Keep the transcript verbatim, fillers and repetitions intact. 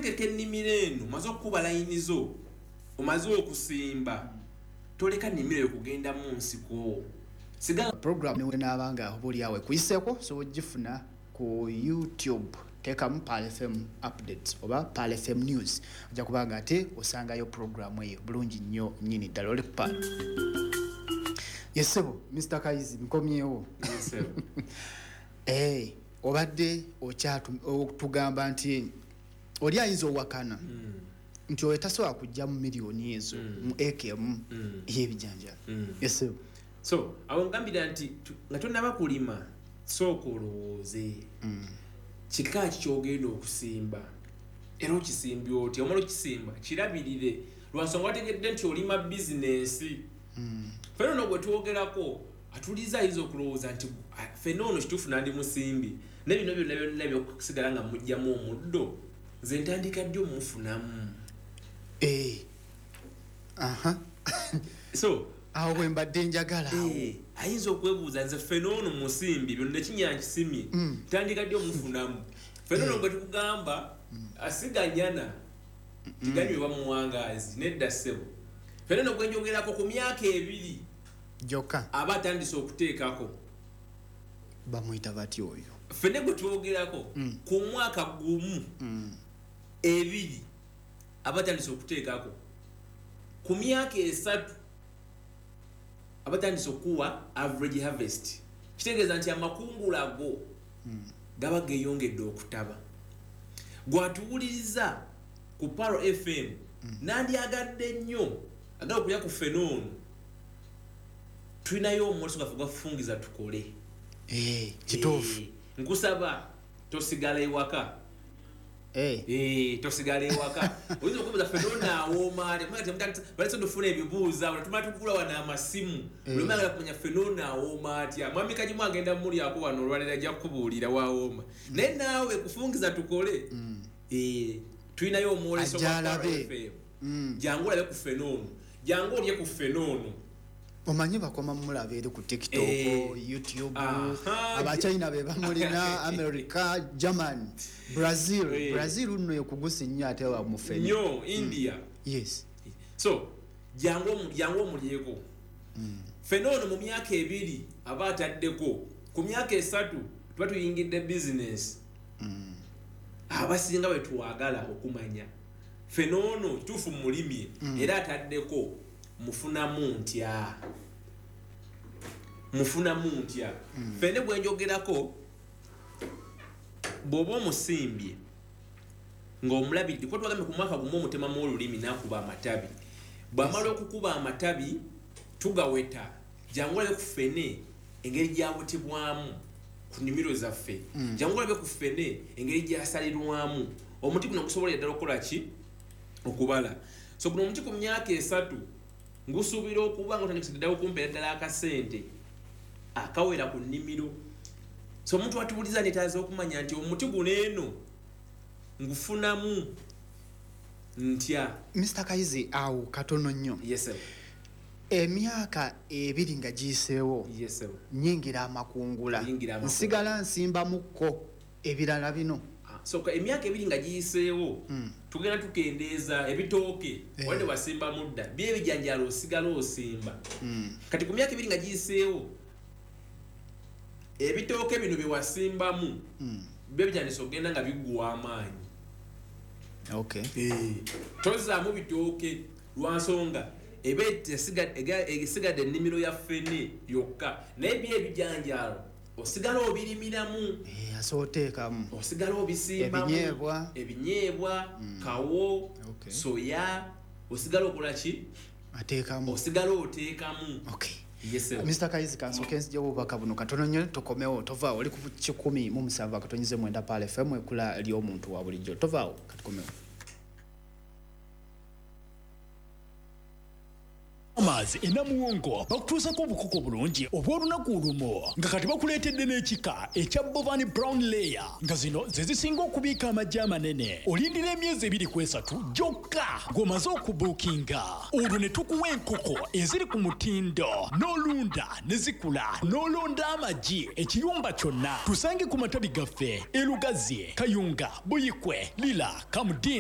okutegeka ennimiro eno, omaze okukuba layini zo, omaze okusimba, toleka nnimiro eyo kugenda mu nsiko. Sigala Program newenaaba nga oba oliawo ekuyiseeko, osobola ogifuna ku YouTube, teekamu Pearl F M updates oba Pearl F M news, ojja kubanga ate osangayo programu eyo bulungi nnyo nnyini ddala. Oli ku Pearl. Yesebo Mister Kayizi, nkomyewo. Eh, obadde okyatugamba nti oli ayinza owakana Mm. nti oyo tasobola kujja mu miliyoni ezo Mm. mu eka emu Mm. ey'ebijanjalo. Mm. Yesebo. So awo ngambira nti tu- nga tonaba kulima, sooka olowooze kika ki kyogenda okusimba era okisimbye otya. Omala okisimba, kirabirire, lwansonga wategedde nti olima bizinensi. Fene ono gwe twogerako atuliza ayinza okulowooza nti, "Ah, fene ono kituufu nandi musimbi, naye bino byonna byonna byokusigala nga mugjamu omuddo, nze ntandika ddi omumufunamu?" Eh. Aha. So awo bwe mbadde njagala awo. Eh, ayinza okwebuuza, nze fene ono musimbi, byonna ekinya nkisimye, ntandika ddi omufunamu? Fene ono gwe tukugamba asiganyana tiganywebwa muwangaazi, nedda ssebo. Fene ono gwe njogerako ku myaka ebiri gyokka aba atandise okuteekako. Bamuyita bati oyo? Fene gwe twogerako ku mwaka gumu, ebiri aba atandise okuteekako, ku myaka esatu aba atandise okuwa average harvest. Kitegeeza nti amakungula go gaba geeyongedde okutaba. Gwatuwuliriza ku Pearl F M, nandyagadde nnyo agala okulya ku fene ono, tulinayo omwoleso gwaffe gwafungiza tukole. Eh, kituufu. Eh, nkusaba tosigala ewaka. Eh, Eh, tosigala ewaka. Oyinza okubuuza, fene ono awooma atya? Balese tufuna ebibuuzo awo, tumala tugula wano amasimu. Eh. Olumala kumanya fene ono awooma atya. Mwami Kagimu agenda mulyako wano olwaleero, ajja kukubuulira wawooma. Naye naawe kufungiza tukole. Eh, tulinayo omwoleso Ajja gwa alabe. Pearl F M. Mm. Jangu olabe ku fene ono, jangu olye ku fene ono. Omanyi bakoma mumulaba eri ku TikTok, Eh. YouTube, Aha. Abachina be bamulina, America, German, Brazil. Eh. Brazil nno ekugusi nnyo ate wa mufene. Nnyo, India. Yes. So jangu omu- jangu omulyeko fene ono. Mu myaka ebiri aba ataddeko, ku myaka esatu tuba tuyingidde bizinesi. Abasinga bwe twagala okumanya, fene ono kituufu mulimye era ataddeko, mufunamu ntya? Mufunamu ntya? Fene bwe njogerako, bw'oba omusimbye ng'omulabiridde, kuba twagambye ku mwaka gumu omutemamu olulimi n'akuba amatabi. Bw'amala okukuba amatabi tugaweta. Jangu olabe ku fene engeri gyawetebwamu ku nnimiro zaffe, jangu olabe ku fene engeri gyasalirwamu. Omuti guno gusobolera ddala okukola ki? Okubala. So guno omuti ku myaka esatu ngusuubira okuba nga otandikise ddala okumpeera ddala akasente akawera ku nnimiro. So omuntu atubuliza netaaza okumanya nti omuti guno eno ngufunamu ntya? Mister Kayizi, awo katono nnyo. Yes, sir. Emyaka ebiri nga giyiseewo, Yes, sir. nyingira amakungula. Oyingira amakungula. Nsigala nsimbamukko ebirala bino? Ah, so ka- emyaka ebiri nga giyiseewo, tugenda tukendeeza ebitooke. Eh. Wadde wasimbamu dda byebijanjalo, osigala osimba. Kati ku myaka ebiri nga giyiseewo, ebitooke bino byewasimbamu byo bitandise okugenda nga biguwa amaanyi. Okay Tozaamu bitooke lwansonga eba esiga- ega- esigadde ennimiro ya ffene yokka, naye byo ebijanjaalo osigala obirimiramu. Eh, asobola oteekamu Osigala obisimbamu. Ebinyeebwa. Ebinyeebwa, kawo, Okay. soya, osigala okola ki? Ateekamu. Osigala oteekamu. Okay. Yes, sir. Mister Kayizi, kansooke nzija obubaka buno katono nnyo, tokomewo, tovaawo. Oli ku kikumi mu musanvu akatonyize mwenda, Pearl F M, ekula ly'omuntu wa bulijjo. Tovaawo, katukomewo. Farmers e Namuwongo bakutuusako obukoko bulungi obw'olunaku olumu, nga kati bakuleetedde n'ekika ekya Bovan Brown Layer, nga zino ze zisinga okubiika amagi amanene. Olindira emyezi ebiri ku esatu gyokka ng'omaze okubuukinga, olwo ne tukuwa enkoko eziri ku mutindo n'olunda ne zikula n'olonda amagi ekiyumba kyonna. Tusange ku matabi gaffe e Lugazi, Kayunga, Buyikwe, Lira, Kamudin.